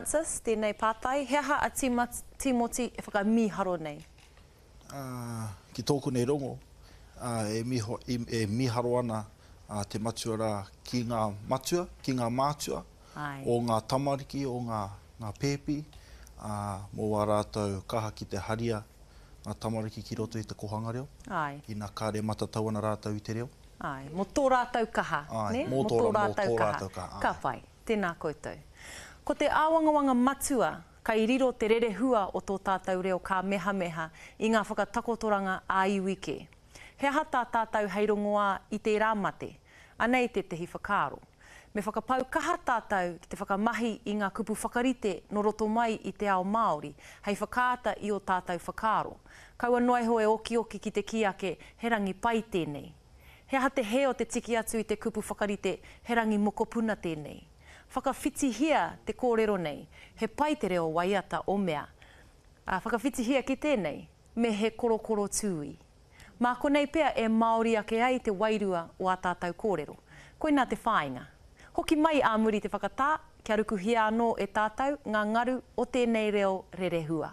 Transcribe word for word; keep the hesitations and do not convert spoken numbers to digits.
Francis, tēnei pātai, he aha a Tīmoti e whakamīharo nei? Ā, ki tōku nei rongo, ā, e miho, e mīharo ana a te matua rā ki ngā matua, ki ngā mātua, Āe. o ngā tamariki, o ngā, ngā pēpi, ā, mō wā rātou kaha ki te haria ngā tamariki ki roto i te kōhanga reo. Āe. Ina kāre matatau ana rātou i te reo. Āe, mō tō rātou kaha, Āe, nē? mō Mō tō tō mō rātou tō kaha. rātou kaha, Ka āe. pai. Tēnā koutou. Ko te āwangawanga matua kai riro te rerehua o tō tātou reo kāmehameha i ngā whakatakotoranga ā-iwi kē. He aha tā tātou hei rongoā i tērā mate? Anei tētehi whakaaro. Me whakapau kaha tātou ki te whakamahi i ngā kupu whakarite nō roto mai i te ao Māori hei whakaata i ō tātou whakaaro. Kaua noa iho e okioki ki te kī ake he rangi pai tēnei. He aha te hē o te tiki atu i te kupu whakarite he rangi mokopuna tēnei? Whakawhitihia te kōrero nei, he pai te reo waiata o Mea. Ā, whakawhitihia ki tēnei, me he korokoro tūī. Mā konei pea e Māori ake ai te wairua o ā tātou kōrero. Koinā te whāinga. Hoki mai ā muri te whakatā, kia rukuhia anō e tātou ngā ngaru o tēnei reo rerehua.